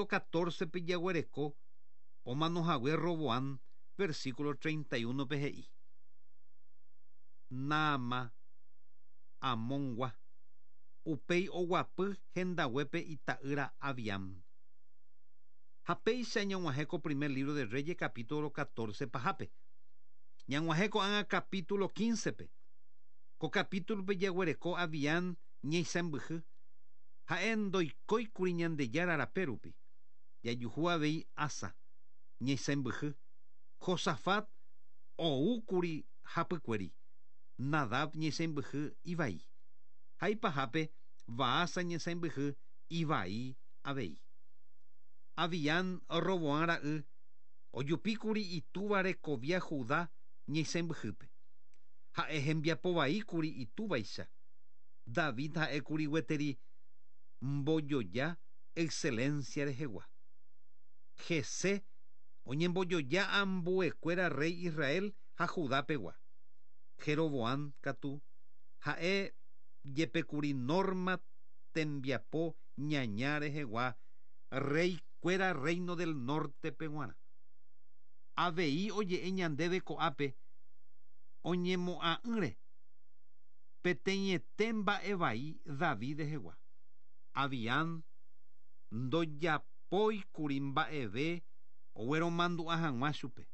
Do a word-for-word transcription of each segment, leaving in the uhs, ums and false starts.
catorce pe jaguereko omanohague Roboam, versículo treinta y uno pe he'i. Naama Amongua upéi oguapy hendaguépe ita'ýra Abiam. Ha péicha ñag̃uahẽ ko primer libro de Reyes capítulo catorce pahápe. Ñag̃uahẽ ko'ág̃a capítulo quince pe. Ko capítulo pe jaguereko Abiam ñeisãmbyhy. Ha'e ndoikóikuri Ñandejára rape rupi. Jajuhu avei Asa ñeisãmbyhy. Josafat oúkuri hapykuéri. Nadab ñeisãmbyhy ivai. Ha ipahápe Baasa ñeisãmbyhy ivai avei. Abiam Roboam ra'y ojupíkuri itúva rekovia Judá ñeisãmbyhýpe. Ha'e hembiapovaíkuri itúvaicha. David ha'ékuri gueteri mbojoja excelencia rehegua. Jesé oñembojoja ambuekuéra rey Israel ha Judá pegua. Jeroboam katu ha'e jepekuri norma tembiapo ñaña rehegua rey kuéra reino del norte peguarã. Avei oje'e ñandéve ko'ápe oñemo'ã'ỹre peteĩete mba'evai David rehegua. Abiam ndojapóikuri mba'eve ogueromandu'a hag̃ua chupe.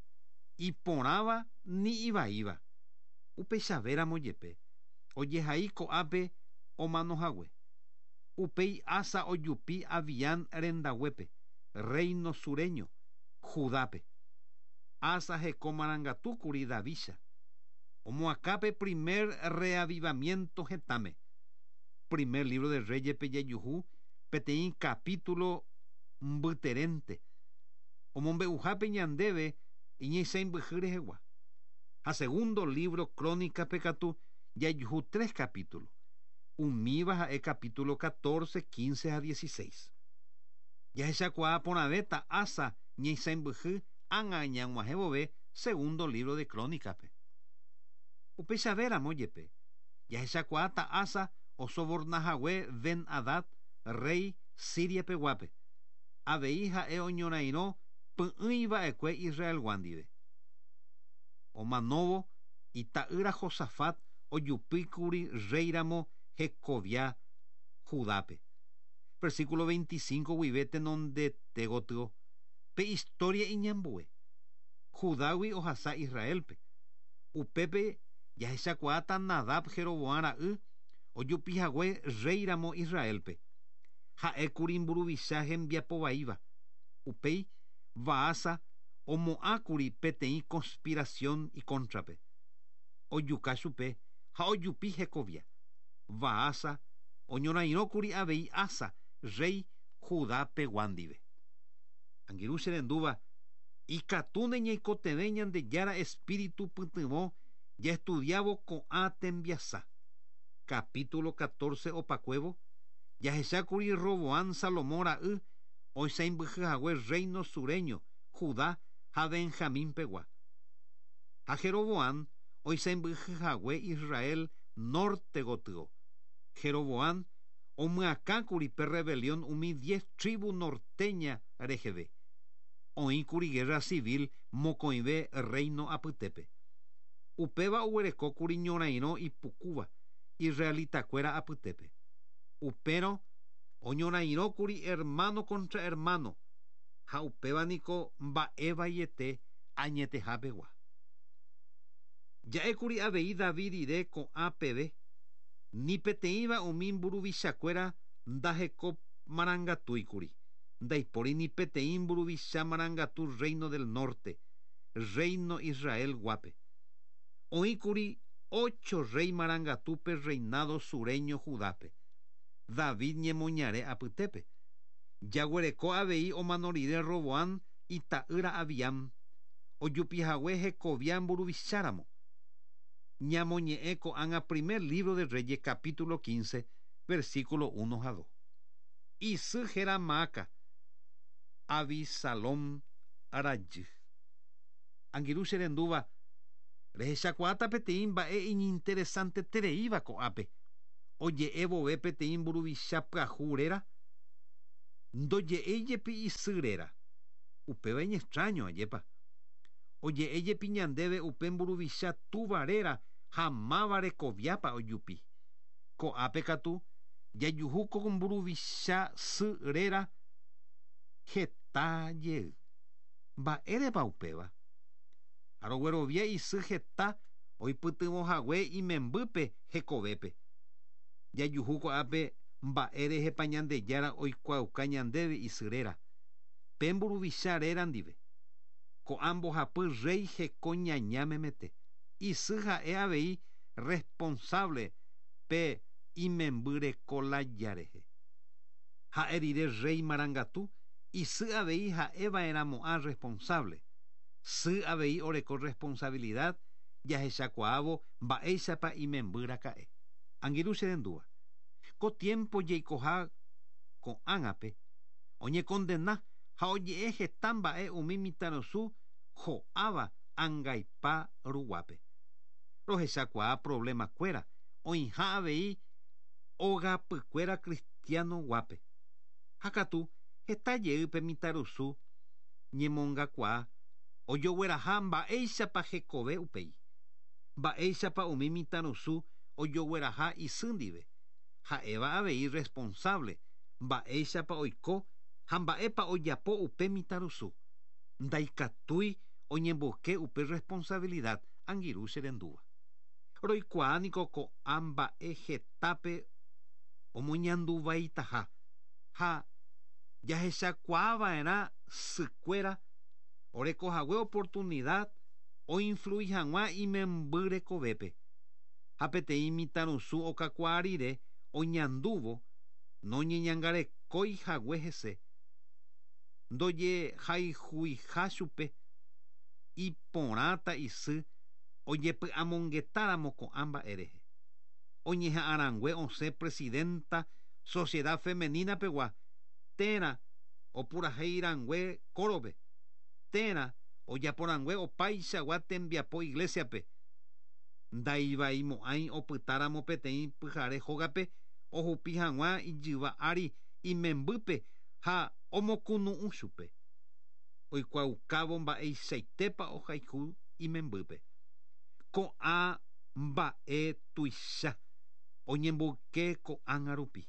Iporãva ni ivaíva. Upeichavéramo jepe ojehai ko'ápe omanohague. Upéi Asa ojupi Abiam rendaguépe, reino sureño, Judápe. Asa heko marangatúkuri Davícha. Omoakãpe primer reavivamiento hetãme. Primer libro de Reyes pe jajuhu peteĩ capítulo mbyterente. Omombe'uhápe ñandéve iñeisãmbyhy rehegua. Ha segundo libro Crónica pe katu jajuhu tres capítulos. Umíva ha'e capítulo catorce, quince ha dieciséis. Jahechakuaa porãvéta Asa ñeisãmbyhy ág̃a ñag̃uahẽ vove segundo libro de Crónica-pe. Upeichavéramo jepe jahechakuaáta Asa osobornahague Ben-Hadad rey Siria peguápe. Avei ha'e oñorairõ py'ỹiva'ekue Israelgua ndive. Omanóvo ita'ýra Josafat ojupíkuri reyramo hekovia Judápe. Versículo veinticinco guive tenondete gotyo pe historia iñambue. Judágui ohasa Israelpe. Upépe jahechakuaáta Nadab Jeroboam ra'y ojupihague reyramo Israelpe. Ha'ékuri mburuvicha hembiapovaíva. Upéi Baasa omo'ãkuri peteĩ conspiración ikóntrape. Ojuka chupe ha ojupi hekovia. Baasa oñorairõkuri avei Asa rey Judá pegua ndive. Angirũ che rendúva ikatúne ñaikotevẽ Ñandejára espíritu pytyvõ jaestudiávo ko'ã tembiasa. Capítulo catorce opakuévo jahechákuri Roboam Salomón ra'y oisãmbyhyhague reino sureño Judá ha Benjamín pegua. Ha Jeroboam oisãmbyhyhague Israel norte gotyo. Jeroboam omyakãkuri pe rebelión umi diez tribu norteña reheve. Oĩkuri guerra civil mokõive reino apytépe. Upéva oguerekókuri ñorairõ ipukúva israelitakuéra apytépe. Upérõ oñorairõkuri hermano contra hermano ha upéva niko mba'evaiete añetehapegua. Ja'ékuri avei David rire ko'ã peve ni peteĩva umi mburuvichakuéra ndaheko marangatúikuri. Ndaipóri ni peteĩ mburuvicha marangatu reino del norte, reino Israel guápe. Oĩkuri ocho rey marangatúpe reinado sureño Judápe. David ñemoñare apytépe. Jaguereko avei omano rire Roboam ita'ýra Abiam. Ojupihague hekovia mburuvicháramo. Ñamoñe'ẽ ko'ág̃a primer libro de Reyes capítulo quince versículo uno ha dos. Isy héra Maaca, Abisalom rajy. Angirũ che rendúva rehechakuaáta peteĩ mba'e iñinteresantetereíva ko'ápe. Oje'e vove peteĩ mburuvicha pyahu réra Ndoje'éi jepi isy réra. Upéva iñextraño ajépa. Oje'e jepi ñandéve upe mburuvicha túva réra ha máva rekoviápa ojupi. Ko'ápe katu jajuhu ko mburuvicha sy réra heta jey. Mba'érepa upéva? Aroguerovia isy heta oipytyvõhague imembýpe hekovépe. Jajuhu ko'ápe mba'érehepa Ñandejára oikuaauka ñandéve isy réra. Pe mburuvicha réra ndive. Ko'ã mbohapy rey heko ñaña memete. Isy ha'e avei responsable pe imemby reko lája rehe. Ha'e rire rey marangatu, isy avei ha'eva'erãmo'ã responsable. Sy avei oreko responsabilidad jahechakuaávo mba'éichapa imemby raka'e. Angirũ che rendúva. Ko tiempo jaikoha ko'ág̃ape oñekondena ha oje'e heta mba'e umi mitãrusu ho'áva angaipa ruguápe. Rohechakuaa problemakuéra oĩha avei ogapykuéra cristiano guápe. Ha katu heta jeýpe mitãrusu ñemongakuaa ojogueraha mba'éichapa hekove upéi. Mba'éichapa umi mitãrusu ojogueraha isy ndive. Ha'éva avei responsable mba'éichapa oiko ha mba'épa ojapo upe mitãrusu. Ndaikatúi oñemboyke upe responsabilidad angirũ che rendúva. Roikuaa niko ko'ã mba'e hetápe omoñanduvaitaha ha jahechakuaava'erã sykuéra orekohague oportunidad oinflui hag̃ua imemby rekovépe. Ha peteĩ mitãrusu okakuaa rire oñandúvo noñeñangarekói hague hese. Ndojehayhuiha chupe iporãta isy ojepy'amongetáramo ko'ã mba'e rehe. Oñeha'ãrangue osẽ presidenta sociedad femenina pegua térã opurahéirangue kórope térã ojaporangue opaichagua tembiapo iglesiape. Ndaivaimo'ãi opytáramo peteĩ pyhare hógape ohupi hag̃ua ijyva ári imembýpe ha omokunu'ũ chupe. Oikuaaukávo mba'eichaitépa ohayhu imembýpe. Ko'ã mba'e tuicha oñemboyke ko'ág̃a rupi.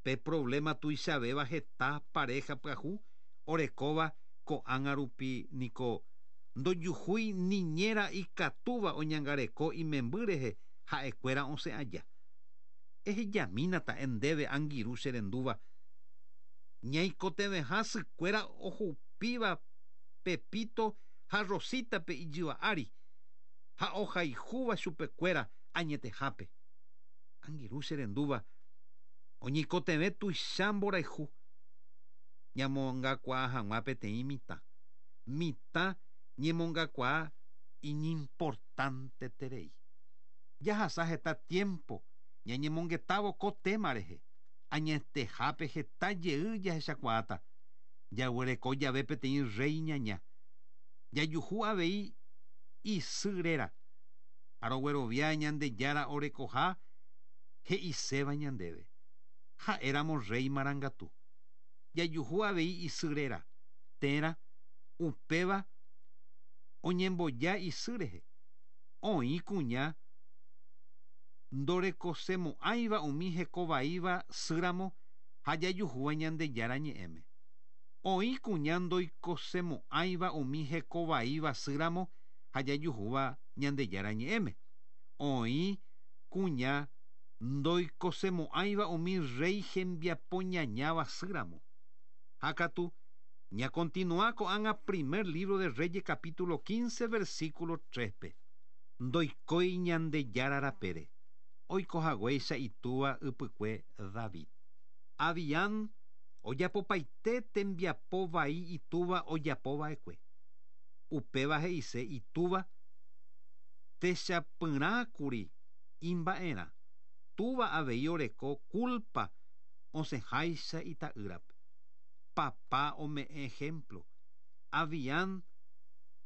Pe problema tuichavéva heta pareja pyahu orekóva ko'ág̃a rupi niko ndojuhúi niñera ikatúva oñangareko imemby rehe ha'ekuéra osẽ aja. Ehejamínata ndéve angirũ che rendúva. Ñaikotevẽha sykuéra ohupíva Pepito ha Rositape ijyva ári ha ohayhúva chupekuéra añetehápe. Angirũ che rendúva oñeikotevẽ tuicha mborayhu ñamongakuaa hag̃ua peteĩ mitã. Mitã ñemongakuaa iñimportanteterei. Jahasa heta tiempo ñañemongetávo ko tema rehe. Añetehápe heta jey jahechakuaáta. Jaguereko jave peteĩ rey ñaña. Jajuhu avei isy réra. Aroguerovia Ñandejára orekoha he'iséva ñandéve. Ha'éramo rey marangatu. Jajuhu avei isy réra. Térã upéva oñemboja isy rehe. Oĩ kuña ndorekosemo'ãiva umi hekovaíva sýramo ha jajuhúva Ñandejára ñe'ẽme. Oĩ kuña ndoikosemo'ãiva umi hekovaíva sýramo ha jajuhúva Ñandejára ñe'ẽme. Oĩ kuña ndoikosemo'ãiva umi rey hembiapo ñañáva sýramo. Ha katu ñakontinua ko'ág̃a primer libro de Reyes capítulo quince versículo tres-pe. Ndoikói Ñandejára rapére. Oikohaguéicha itúva ypykue David. Abiam ojapopaite tembiapo vai itúva ojapova'ekue. Upéva he'ise itúva techapyrãkuri imba'erã. Túva avei oreko culpa osẽháicha ita'ýrape. Papá ome'ẽ ejemplo. Abiam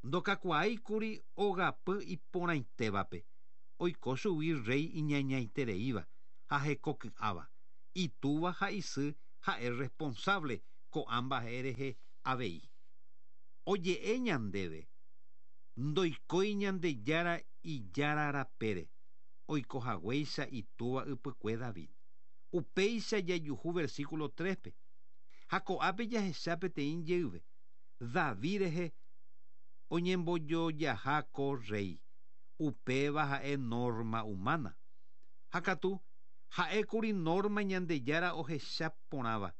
ndokakuaáikuri ogapy iporãitévape. Oiko chugui rey iñañaitereíva ha hekoky'áva. Itúva ha isy ha'e responsable ko'ã mba'e rehe avei. Oje'e ñandéve ndoikói Ñandejára ijára rapére oikohaguéicha itúva ypykue David. Upéicha jajuhu versículo tres-pe. Ha ko'ápe jahecha peteĩ jeyve David rehe oñembojojaha ko rey. Upéva ha'e norma humana. Ha katu ha'ékuri norma Ñandejára ohecha porãva.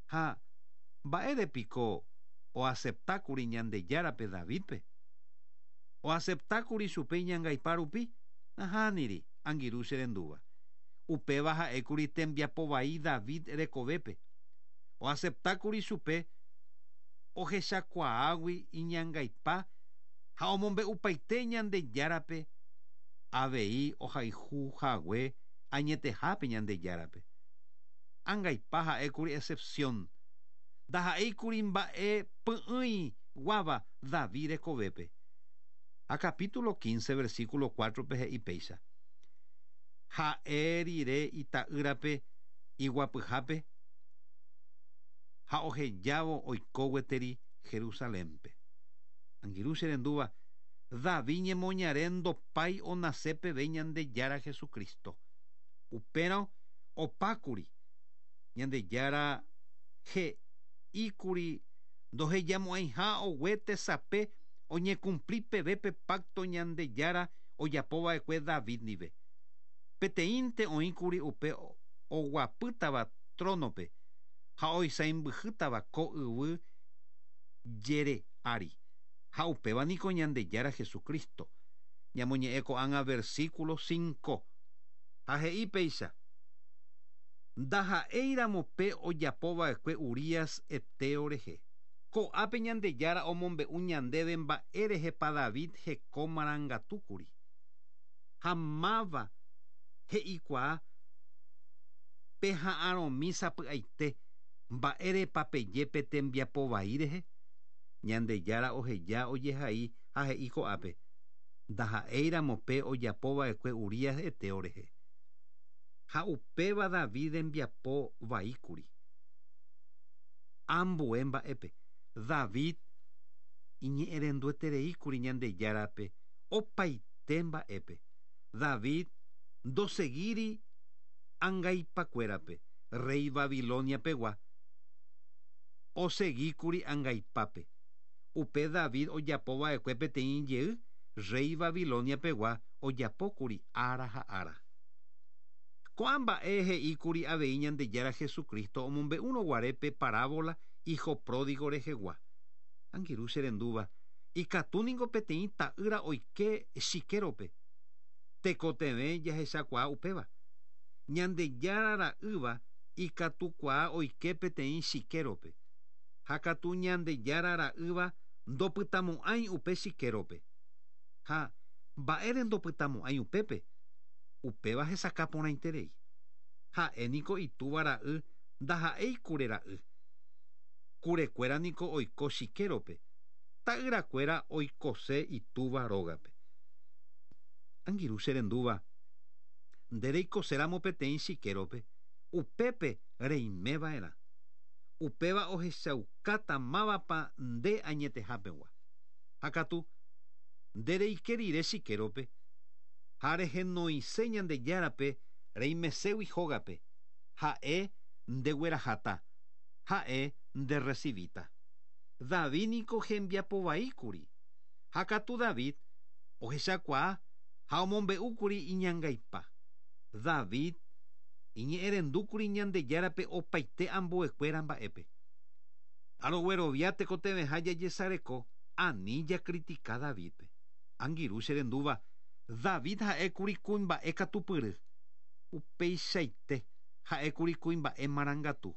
Ha mba'érepiko oaceptákuri Ñandejárape Davidpe. Oaceptákuri chupe iñangaipa rupi nahániri angirũ che rendúva. Upéva ha'ékuri tembiapo vai David rekovépe. Oaceptákuri chupe ohechakuaágui iñangaipa ha omombe'upaite Ñandejárape avei ohayhuhague añetehápe Ñandejárape. Angaipa ha'ékuri excepción. Ndaha'éikuri mba'e py'ỹi guáva David rekovépe. Ha capítulo quince versículo cuatro-pe he'i péicha. Ha'e rire ita'ýrape iguapyhápe ha ohejávo oiko gueteri Jerusalénpe. Angirũ che rendúva David ñemoñare ndopái onase peve Ñandejára Jesucristo. Upérõ opákuri Ñandejára he'íkuri ndohejamo'ãiha ogue tesape oñecumpli peve pe pacto Ñandejára ojapova'ekue David ndive. Peteĩnte oĩkuri upe oguapýtava tronope ha oisãmbyhýtava ko yvy jere ári. Ha upéva niko Ñandejára Jesucristo. Ñamoñe'ẽ ko'ág̃a versículo cinco. Ha he'i péicha. Ndaha'éiramo pe ojapova'ekue Urías heteo rehe. Ko'ápe Ñandejára omombe'u ñandéve mba'e rehepa David heko marangatúkuri. Ha máva he'ikuaa peha'arõmi sapy'aite mba'érepa peje tembiapo vai rehe. Ñandejára oheja ojehai ha he'i ko'ápe. Ndaha'éiramo pe ojapova'ekue Urías heteo rehe. Ha upéva David rembiapo vaíkuri. Ambue mba'épe David iñe'ẽrenduetereíkuri Ñandejárape opaite mba'épe. David ndoseguíri angaipakuérape rey Babilonia pegua oseguíkuri angaipápe. Upe David ojapova'ekue peteĩ jey rey Babilonia pegua ojapókuri ára ha ára. Ko'ã mba'e he'íkuri avei Ñandejára Jesucristo omombe'úrõ guare pe parábola hijo pródigo rehegua. Angirũ che rendúva ikatúniko peteĩ ta'ýra oike chikérope. Tekotevẽ jahechakuaa upéva. Ñandejára ra'ýva ikatukuaa oike peteĩ chikérope. Ha katu Ñandejára ra'ýva ndopytamo'ãi upe chikérope. Ha mba'ére ndopytamo'ãi upépe. Upéva hesakã porãiterei. Ha'e niko itúva ra'y ndaha'éi kure ra'y. Kurekuéra niko oiko chikérope. Ta'yrakuéra oikose itúva rógape. Angirũ che rendúva nde reikoséramo peteĩ chikérope upépe reimeva'erã. Upéva ohechaukáta mávapa nde añetehápegua. Ha katu nde reike rire chikérope ha rehenoise Ñandejárape reimeségui hógape. Ha'e ndegueraháta. Ha'e nderecibíta. David niko hembiapo vaíkuri. Ha katu David ohechakuaa ha omombe'úkuri iñangaipa. David iñe'ẽrendúkuri Ñandejárape opaite ambuekuéra mba'épe. Aroguerovia tekotevẽha jajesareko ani jacritica Davidpe. Angirũ che rendúva David ha'ékuri kuimba'e katupyry. Upeichaite ha'ékuri kuimba'e marangatu.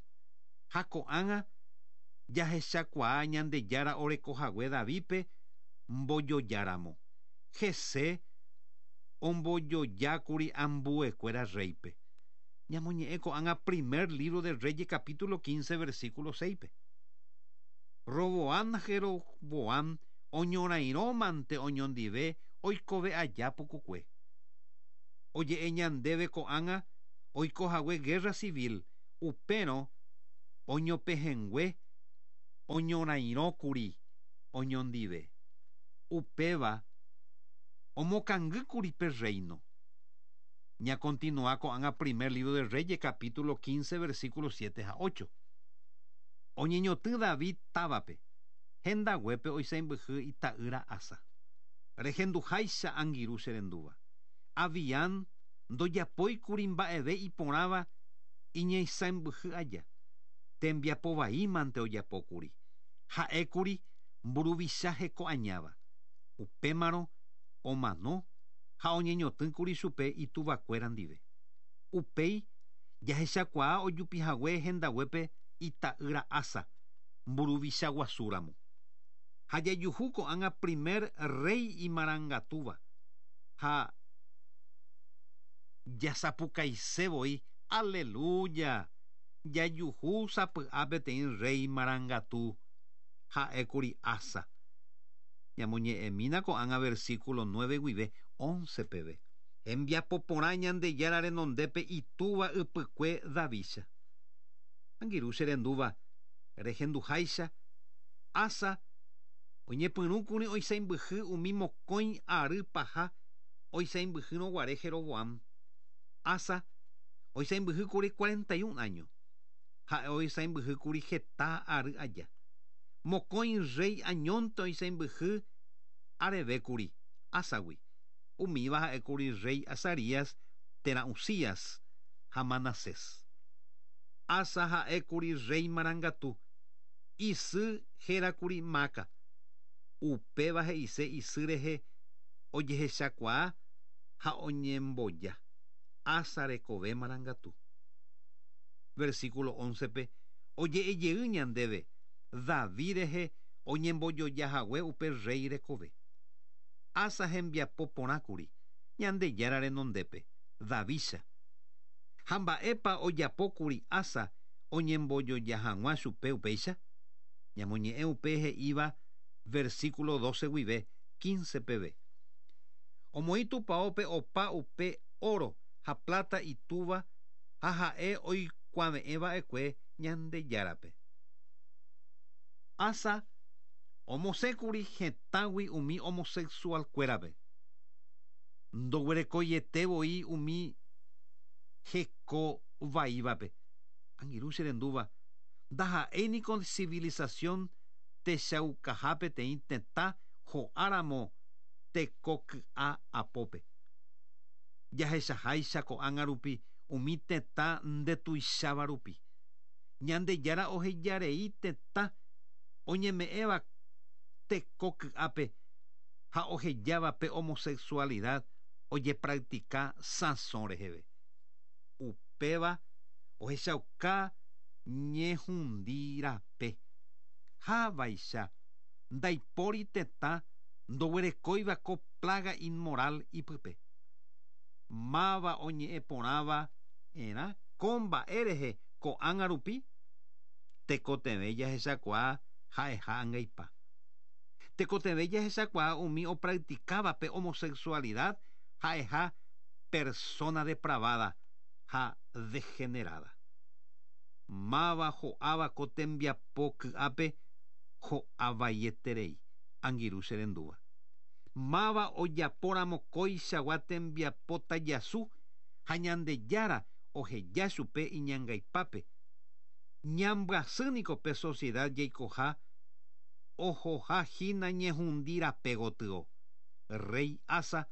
Ha ko'ág̃a jahechakuaa Ñandejára orekohague Davidpe mbojojáramo. Hese ombojojákuri ambuekuéra reype. Ñamoñe'ẽ ko'ág̃a primer libro de Reyes capítulo quince versículo seis-pe. Roboam Jeroboam oñorairõmante oñondive oikove aja pukukue. Oje'e ñandéve ko'ág̃a oikohague guerra civil upérõ Oñopehẽngue oñorairõkuri oñondive. Upéva omokangýkuri pe reino. Ñakontinua ko'ág̃a primer libro de Reyes capítulo quince versículo siete ha ocho. Oñeñotỹ David távape, hendaguépe oisãmbyhy ita'ýra Asa. Rehenduháicha angirũ che rendúva. Abiam ndojapóikuri mba'eve iporãva iñeisãmbyhy aja. Tembiapovaímante ojapókuri. Ha'ékuri mburuvicha hekoañáva. Upémarõ omano ha oñeñotỹkuri chupe ituvakuéra ndive. Upéi jahechakuaa ojupihague hendaguépe ita'ýra Asa mburuvicha guasúramo. Ha jajuhu ko'ág̃a primer rey imarangatúva ha jasapukaisevoi aleluya jajuhu sapy'a peteĩ rey marangatu ha'ékuri Asa. Ñamoñe'ẽmína ko'ág̃a versículo nueve guive once peve. Hembiapo porã Ñandejára renondépe itúva ypykue Davícha. Angirũ che rendúva rehenduháicha Asa oñepyrũkuri oisãmbyhy umi mokõi ary paha oisãmbyhýrõguare Jeroboam. Asa oisãmbyhýkuri cuarenta y un año. Ha'e oisãmbyhýkuri heta ary aja. Mokõi rey añónte oisãmbyhy arevékuri Asagui. Umíva ha'ékuri rey Azarías térã Uzías ha Manasés. Asa ha'ékuri rey marangatu. Isy hérakuri Maca. Upéva he'ise isy rehe ojehechakuaa ha oñemboja. Asa rekove marangatu. Versículo once pe oje'ejey ñandéve David rehe oñembojojahague upe rey rekove. Asa hembiapo porãkuri Ñandejára renondépe Davícha. Ha mba'épa ojapókuri Asa oñembojoja hag̃ua chupe upéicha? Ñamoñe'ẽ upe he'íva versículo doce guive quince peve. Omoĩ tupãópe opa upe oro ha plata itúva ha ha'e oikuave'ẽva'ekue Ñandejárape. Asa omosẽkuri hetãgui umi homosexualkuérape. Ndoguerekoietevoi umi hekovaívape. Angirũ che rendúva ndaha'éiniko civilización techaukaha peteĩ tetã ho'áramo tekoky'a apópe. Jahechaháicha ko'ág̃a rupi umi tetã ndetuicháva rupi. Ñandejára ohejarei tetã oñeme'ẽva tekoky'ápe ha ohejáva pe homosexualidad ojepractica sãso reheve. Upéva ohechauka ñehundi rape. Ha vaicha ndaipóri tetã ndoguerekóiva ko plaga inmoral ipype. Máva oñe'ẽ porãva erã ko mba'e rehe ko'ág̃a rupi tekotevẽ jahechakuaa ha'eha angaipa. Tekotevẽ jahechakuaa umi opracticáva pe homosexualidad ha'eha persona depravada ha degenerada. Máva ho'áva ko tembiapo ky'ápe ho'avaieterei angirũ che rendúva. Máva ojapóramo kóichagua tembiapo tajasu ha Ñandejára oheja chupe iñangaipápe. Ñambyasýniko pe sociedad jaikoha ohohahína ñehundi rape gotyo. Rey Asa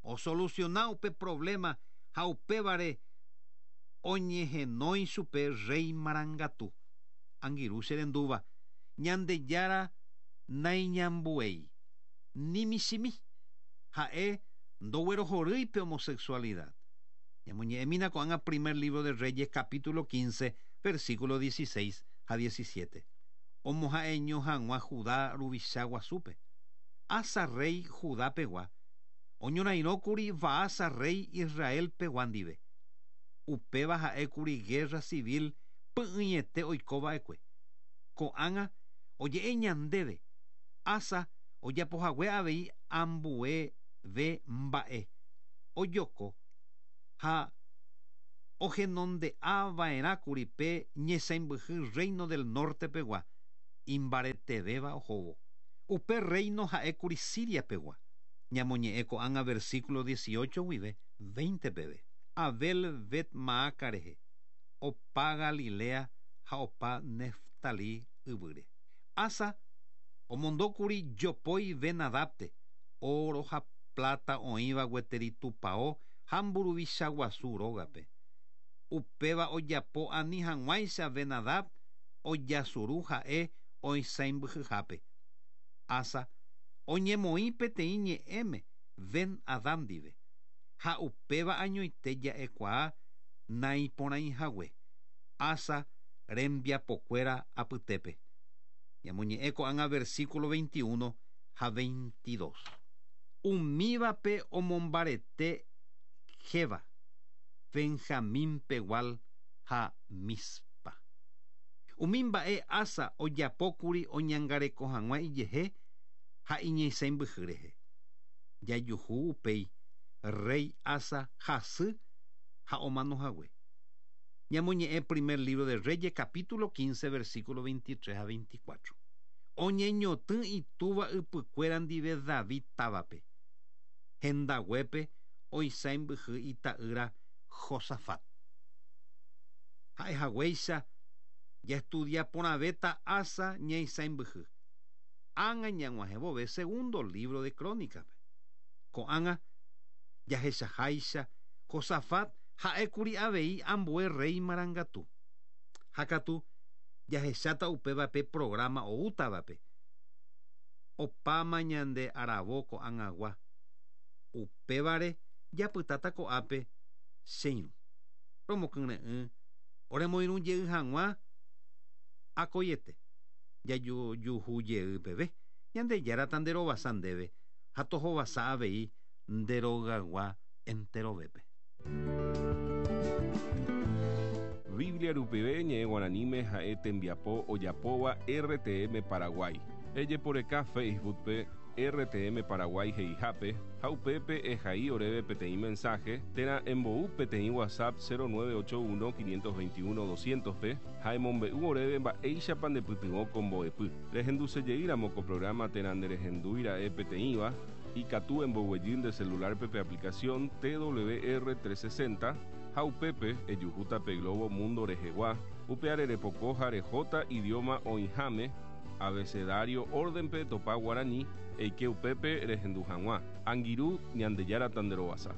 osoluciona upe problema ha upévare oñehenói chupe rey marangatu. Angirũ che rendúva Ñandejára naiñambuéi ni michĩmi ha'e ndoguerohorýi pe homosexualidad. Ñamoñe'ẽmína ko'ág̃a primer libro de Reyes capítulo quince versículo dieciséis ha diecisiete. Omoha'eño hag̃ua Judá ruvicha guasúpe. Asa rey Judá pegua oñorairõkuri Baasa rey Israel pegua ndive. Upéva ha'ékuri guerra civil py'ỹiete oikova'ekue. Ko'ág̃a oje'e ñandéve Asa ojapohague avei ambueve mba'e ojoko ha Ohenonde'ava'erãkuri pe ñesãmbyhy reino del norte pegua imbaretevéva ohóvo. Upe reino ha'ékuri Siria pegua. Ñamoñe'ẽ ko'ág̃a versículo dieciocho guive veinte peve. Abel Bet Maaca rehe, opa Galilea ha opa Neftali yvýre. Asa omondókuri jopói Ben-Hadadpe, oro ha plata oĩva gueteri tupão ha mburuvicha guasu rógape. Upéva ojapo ani hag̃uáicha Ben-Hadad ojasuru ha'e oisãmbyhyhápe. Asa oñemoĩ peteĩ ñe'ẽme Ben-Hadad ndive ha upéva añoite ja'ekuaa naiporãihague. Asa rembiapokuéra apytépe. Ñamoñe'ẽ ko'ág̃a versículo veintiuno ha veintidós. Umívape omombarete Geba, Benjamín pegual ha Mispa. Umi mba'e Asa ojapókuri oñangareko hag̃ua ijehe ha iñesãmbyhy rehe. Jajuhu upéi rey Asa hasy ha omanohague. Ñamoñe'ẽ primer libro de Reyes capítulo quince versículo veintitrés a veinticuatro. Oñeñotỹ itúva ypykuéra ndive David távape. Hendaguépe oisãmbyhy ita'ýra Josafat. Ha'ehaguéicha jaestudia porãvéta Asa ñaisãmbyhy. Ág̃a ñag̃uahẽvove segundo libro de Crónicape. Ko'ág̃a jahechaháicha Josafat ha'ékuri avei ambue rey marangatu. Ha katu jahecháta upévape programa oútavape. Opáma ñande aravo ko'ag̃agua. Upévare japytáta ko'ápe che irũ. Romokyre'ỹ oremoirũ jey hag̃ua akoiete. Jajuhu jey peve. Ñandejára nderovasa ndéve ha tohovasa avei nderogagua enterovépe. Biblia rupive ñe'ẽ guaraníme ha'e tembiapo ojapóva R T M Paraguay. Ejeporeka Facebook-pe R T M Paraguay he'ihápe ha upépe ehai oréve peteĩ mensaje térã embou peteĩ WhatsApp cero nueve ocho uno quinientos veintiuno doscientos pe ha emombe'u oréve mba'éichapa ndepytyvõ ko mbo'epy. Rehendusejeýramo ko programa térã nderehendúira'e peteĩva ikatu emboguejy nde celular-pe pe aplicación T W R trescientos sesenta ha upépe ejuhúta pe Globo Mundo rehegua upe arerepoko ha rehóta idioma oĩháme abecedario orden-pe topa guarani eike upépe rehendu hag̃ua. Angirũ Ñandejára tanderovasa.